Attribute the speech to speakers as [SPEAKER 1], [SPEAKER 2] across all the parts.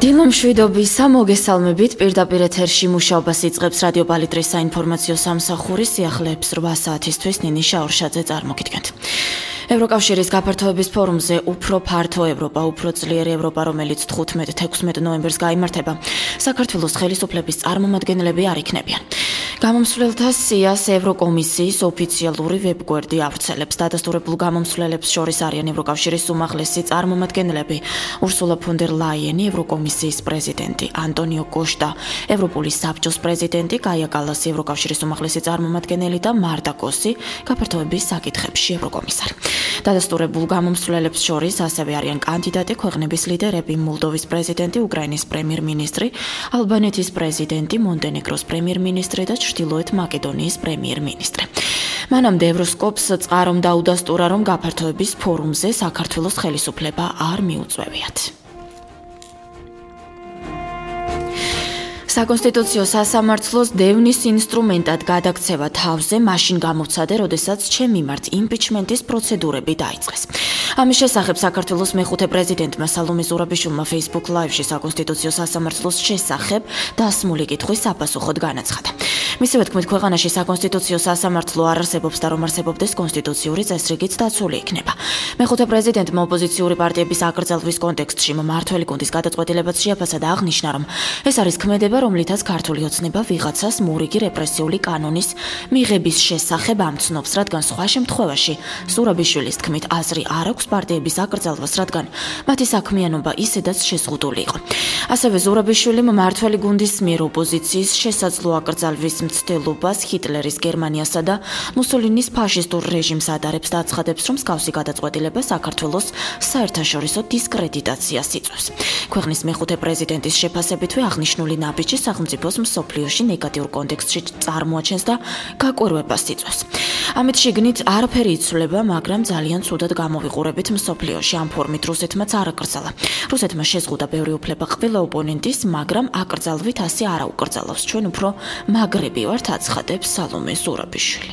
[SPEAKER 1] დილომშვიდობისა მოგესალმებით პირდაპირ ეთერში მუშაობას იწყებს რადიო პალიტრის საინფორმაციო სამსახური სიახლეებს 8 საათისთვის ნინი შაურშაძე წარმოგიდგენთ. ევროკავშირის გაფართოების ფორუმზე უფრო ფართო ევროპა, უფრო ძლიერი ევროპა, რომელიც 15-16 ნოემბერს გაიმართება, საქართველოს ხელისუფლების წარმომადგენლები არ იქნებიან. გამომსვლელთა სიას ევროკომისიის ოფიციალური ვებგვერდი ავრცელებს. დადასტურებულ გამომსვლელებს შორის არიან ევროკავშირის უმაღლესი წარმომადგენლები ურსულა ფონ დერ ლაიენი, ევროკომისიის პრეზიდენტი ანტონიო კოშტა, ევროპული საბჭოს პრეზიდენტი გაია კალასი, ევროკავშირის უმაღლესი წარმომადგენელი და მარტა კოსი, გაფართოების საკითხებში ევროკომისარი. დადასტურებულ გამომსვლელებს შორის ასევე არიან კანდიდატი ქვეყნების ლიდერები, მოლდოვის პრეზიდენტი, უკრაინის პრემიერ-მინისტრი, ალბანეთის პრეზიდენტი, მონტენეგროს პრემიერ-მინისტრი და ჩრდილოეთ მაკედონიის პრემიერ-მინისტრი. მანამდე ევროსკოპს წყარომ დაუდასტურა, რომ გაფართოების ფორუმზე საქართველოს ხელისუფლება არ მიუწვევიათ. საკონსტიტუციო სასამართლოს დევნის ინსტრუმენტად გადაქცევა თავზე მაშინ გამოვცადე, როდესაც ჩემ მიმართ იმპიჩმენტის პროცედურები დაიწყეს. ამის შესახებ საქართველოს მეხუთე პრეზიდენტმა სალომე ზურაბიშვილმა Facebook Live-ში საკონსტიტუციო სასამართლოს შესახებ დასმული კითხვის საპასუხოდ განაცხადა. მისივე თქმით, ქვეყანაში საკონსტიტუციო სასამართლო არ არსებობს და რომ არსებობდეს კონსტიტუციური წესრიგიც დაცული იქნება. მეხუთე პრეზიდენტმა ოპოზიციური პარტიების აკრძალვის კონტექსტში მმართველი გუნდის გადაწყვეტილებაც შეაფასა და აღნიშნა, რომ ეს არის ქმედება, რომლითაც ქართული ოცნება ვიღაცას მორიგი რეპრესიული კანონის მიღების შესახებ ამცნობს, რადგან სხვა შემთხვევაში ზურაბიშვილის თქმით აზრი არ აქვს პარტიების აკრძალვას, რადგან მათი საქმიანობა ისედაც შეზღუდული იყო. ასევე ზურაბიშვილი მმართველი გუნდის მიერ ოპოზიციის შესაძლო აკრძალვის მცდელობას ჰიტლერის გერმანიასა და მუსოლინის ფაშისტურ რეჟიმს ადარებს და აცხადებს, რომ მსგავსი გადაწყვეტილება საქართველოს საერთაშორისო დისკრედიტაციას იწვევს. ქვეყნის მეხუთე პრეზიდენტის შეფასებითვე აღნიშნული ნაბიჯი სახელმწიფოს მსოფლიოში ნეგატიურ კონტექსტში წარმოაჩენს და გაკვირვებას იწვევს. ამით შიგნით არაფერი იცვლება, მაგრამ ძალიან ცუდად გამოვიყურებით მსოფლიოში. ამ ფორმით რუსეთმაც არ აკრძალა. რუსეთმა შეზღუდა ბევრი უფლება ყველა ოპონენტის, მაგრამ აკრძალვით ასე არ აუკრძალავს. ჩვენ უფრო მაგრები ვართ, აცხადებს სალომე ზურაბიშვილი.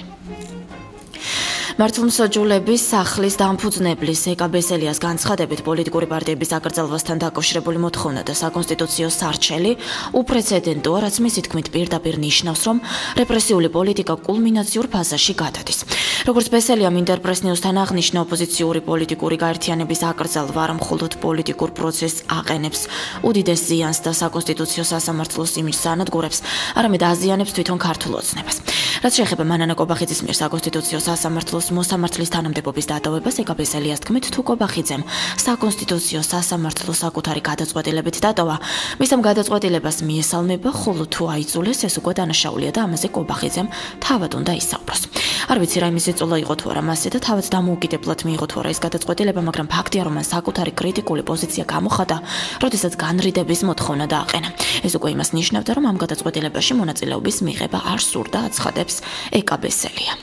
[SPEAKER 1] მართლმსაჯულების სახლის დამფუძნებლის ეკა ბესელიას განცხადებით პოლიტიკური პარტიების აკრძალვასთან დაკავშირებული მოთხოვნა და საკონსტიტუციო სარჩელი უპრეცედენტოა, რაც მისი თქმით პირდაპირ ნიშნავს, რომ რეპრესიული პოლიტიკა კულმინაციურ ფაზაში გადადის. როგორც ბესელიამ ინტერპრეს ნიუსთან აღნიშნა, ოპოზიციური პოლიტიკური გაერთიანების აკრძალვა არ მხოლოდ პოლიტიკურ პროცესს აყენებს უდიდეს ზიანს და საკონსტიტუციო სასამართლოს იმიჯს ანადგურებს, არამედ აზიანებს თვითონ ქართულ ოცნებას. რაც შეეხება მანანა კობახიძის მიერ საკონსტიტუციო სასამართლოს მოსამართლის თანამდებობის დატოვებას, ეკა ბესელიას თქმით, თუ კობახიძემ საკონსტიტუციო სასამართლო საკუთარი გადაწყვეტილებით დატოვა, მის ამ გადაწყვეტილებას მიესალმება, ხოლო თუ აიძულეს, ეს უკვე დანაშაულია და ამაზე კობახიძემ თავად უნდა ისაუბროს. არ ვიცი რა იმის ეწოლა იყო თუ არა მასზე და თავად დამოუკიდებლად მიიღო თუ არა ეს გადაწყვეტილება, მაგრამ ფაქტია, რომ მან საკუთარი კრიტიკული პოზიცია გამოხატა, როდესაც განრიდების მოთხოვნა დააყენა. ეს უკვე იმას ნიშნავდა, რომ ამ გადაწყვეტილებაში მონაწილეობის მიღება არ სურდა, აცხადებს ეკა ბესელია.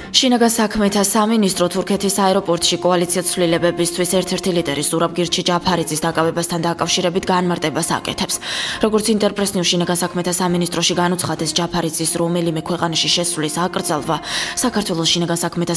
[SPEAKER 1] შინაგან საქმეთა სამინისტრო თურქეთის აეროპორტში კოალიციო ცვლილებებისთვის ერთ-ერთი ლიდერი ზურაბგირჩი ჯაფარიძის დაკავებასთან დაკავშირებით განმარტებას აკეთებს. როგორც ინტერპრეს ნიუს შინაგან საქმეთა სამინისტროში განუცხადეს, ჯაფარიძის რომელიმე ქვეყანაში შესვლის აკრძალვა საქართველოს შინაგან საქმეთა